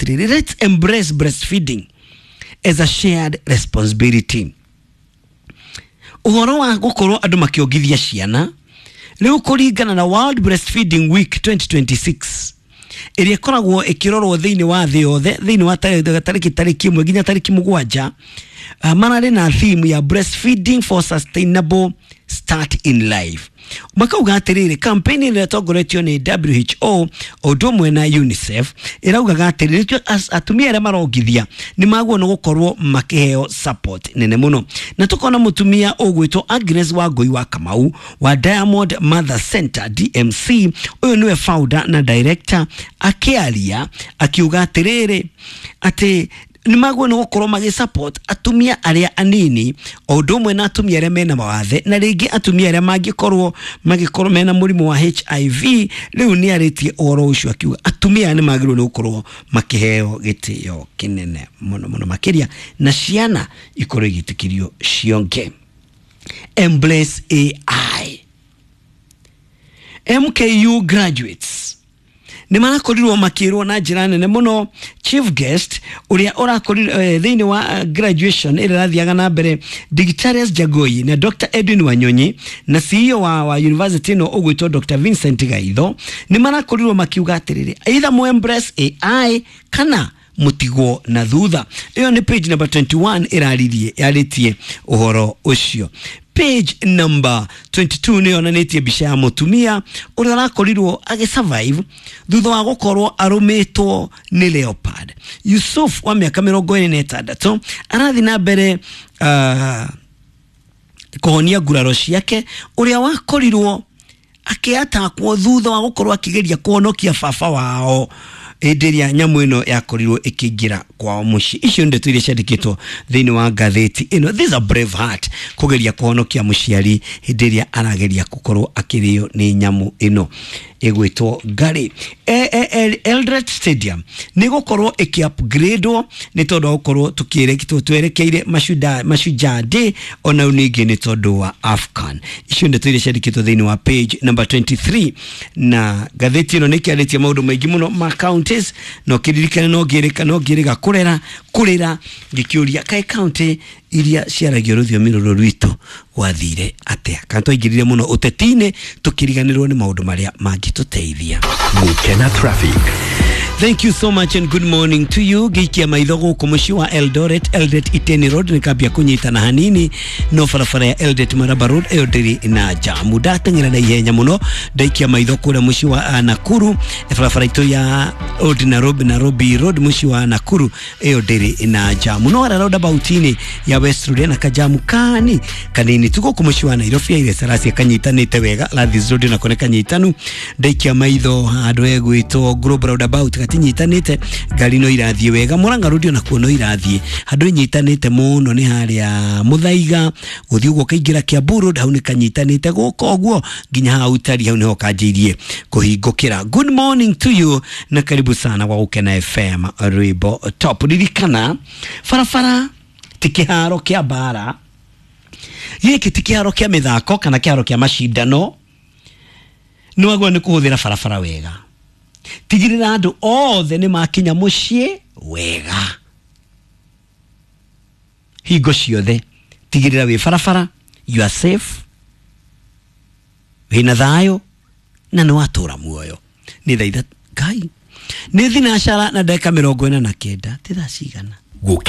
atĩrĩrĩ, let's embrace breastfeeding as a shared responsibility. Ũhoro wa gũkorwo andũ makĩongithia ciana rĩu kũringana na World Breastfeeding Week 2026 ĩrĩa ĩkoragwo ĩkĩrorwo thĩinĩ wa thĩ yothe thĩinĩ wa tarĩki 1 nginya tarĩki 7, mararĩ na theme ya breastfeeding for sustainable start in life. Makauga atĩrĩrĩ, campaign ĩrĩa ĩtongoretio nĩ WHO o ũndũ ũmwe na UNICEF ĩraugaga atĩrĩrĩ, atumia arĩa marongithia nĩ magwo nĩ gũkorwo makĩheo support nene mũno. Na tũkona mũtumia ũgwĩtwo Agnes Wangũi wa Kamau wa Diamond Mother Center DMC, ũyũ nĩwe founder na director, akĩaria akiuga atĩrĩrĩ atĩ nĩ magwo nĩ gũkorwo magĩ support atumia arĩa anini o ũndũ ũmwe na atumia arĩa mena mawathe na rĩngĩ atumia arĩa mangĩkorwo magĩkorwo mena mũrimũ wa HIV. Rĩu nĩ arĩtie ũhoro ũcio akiuga atumia aya nĩ magĩrĩirwo nĩ gũkorwo makĩheo gĩtĩo kĩnene mũno mũno makĩria na ciana ikorwo igĩtĩkĩrio cionge. Embrace AI. MKU graduates nĩ marakorirwo makĩrwo na njĩra nene mũno. Chief guest ũrĩa ũrakorirwo thĩinĩ wa graduation ĩrĩa ĩrathiaga na mbere, Digitarius Jagoi na Dr Edwin Wanyonyi na CEO wa university ĩno ũgwĩtwo Dr Vincent Gaitho, nĩ marakorirwo makiuga atĩrĩrĩ, either mo embrace AI kana mutigwo na thutha. Ĩyo nĩ page number 21 ĩraririe yarĩtie ũhoro ũcio. Page number 22 nĩ yonanĩtie mbica ya mũtumia ũrĩa ũrakorirwo agĩsurvive thutha wa gũkorwo arũmĩtwo nĩ leopard. Yusuf wa mĩaka 26 arathiĩ na mbere kũhonia nguraro ciake, ũrĩa wakorirwo akĩatakwo thutha wa gũkorwo akĩgeria kũhonokia baba wao hĩndĩ ĩrĩa nyamũ ĩno yakorirwo ĩkĩingĩra kwao mũciĩ. Icio nĩ ndeto iria ciandĩkĩtwo thĩinĩ wa ngathĩti ĩno. This is a brave heart, kũgeria kũhonokia mũciari hĩndĩ ĩrĩa arageria gũkorwo akĩrĩo nĩ nyamũ ĩno ĩgwĩtwo ngarĩ. Eldoret Stadium nĩ gũkorwo ĩkĩ-upgradewo nĩ tondũ wa gũkorwo twerekeire Mashujaa Day, ona ningĩ nĩ tondũ wa AFCON. Icio ndeto iria ciandĩkĩtwo thĩinĩ wa page number 23. Na ngathĩti ĩno nĩ ĩkĩarĩtie maũndũ maingĩ mũno ma counties, no kĩririkane no ngĩrĩka no ngĩrĩga kũrera kũrĩra ngĩkĩũria kaĩ county iria ciaragio rũthiomi rũrũ rwitũ gwathire atĩa, kana twaingĩrire mũno ũteti-inĩ tũkĩriganĩrwo nĩ maũndũ marĩa mangĩtũteithia. Gukena Traffic. Thank you so much and good morning to you. Gĩikia maitho gũkũ mũciĩ wa Eldoret, Eldoret Iten Road nĩ kambia kũnyitana hanini, no barabara ya Eldoret Maraba Road ĩyo ndĩrĩ na jamu. Ndateng'era na ihenya mũno ndaikia maitho kũrĩa mũciĩ wa Nakuru, barabara itũ ya Old Nairobi, Nairobi Road mũciĩ wa Nakuru ĩyo ndĩrĩ na jamu, no harĩa roundabout-inĩ ya West Road na kajamu kani kanini tu. Gũkũ mũciĩ wa Nairobi Haile Selassie kanyitanĩte wega, Landhies Road nako nĩ kanyitanu. Ndaikia maitho handũ hegwĩtwo Global Roundabout gatinyitanĩte, ngari no irathiĩ wega. Murang'a Road onakuo no irathiĩ. Handũ inyitanĩte mũno nĩ harĩa Muthaiga gũthiĩ ũguo ũkaingĩra Kiambu Road, hau nĩ kanyitanĩte gũka ũguo nginya hau tari, hau nĩho kanjĩirie kũhingũkĩra. Good morning to you na karibu sana gwa Gũkena FM, rwĩmbo top. Ririkana barabara ti kĩharo kĩa mbara, gĩkĩ ti kĩharo kĩa mĩthako kana kĩharo kĩa macindano. Nĩ wagĩrĩirwo nĩ kũhũthĩra barabara wega, tigĩrĩra andũ othe nĩ makinya mũciĩ wega. Hingo ciothe tigĩrĩra wĩ barabara, you are safe, wĩna thayũ na nĩ watũra muoyo. Nĩ thaa ithatũ ngai nĩ thinacara na ndagĩka 49, ti thaa cigana? Gukena.